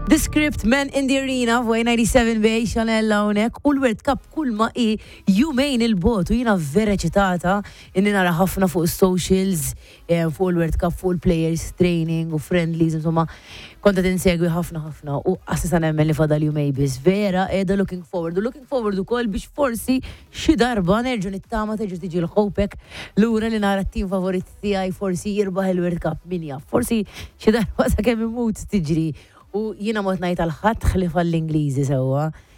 The Script, Man in the Arena, fuq 97 bej Chanel hawnhekk u l-World Cup kull ma i jumejn il-bot u jiena vera eċitata inni nara ħafna fuq socials, fuq il-World Cup, fuq il-players training u friendlies, insomma, kont qed insegwi ħafna ħafna u assisa nemmen li fadal jumejn biss. Vera qiegħda looking forward u looking forward ukoll biex forsi xi darba nerġa' nittama terġa' tiġi l-ħopek lura li nara t-tim favorit tiegħi forsi jirbaħ il-World Cup, min jaf. Forsi xi darba sakemm imut tiġri. U jiena mod ngħid għal ħadd ħlief għall-Ingliżi sewwa.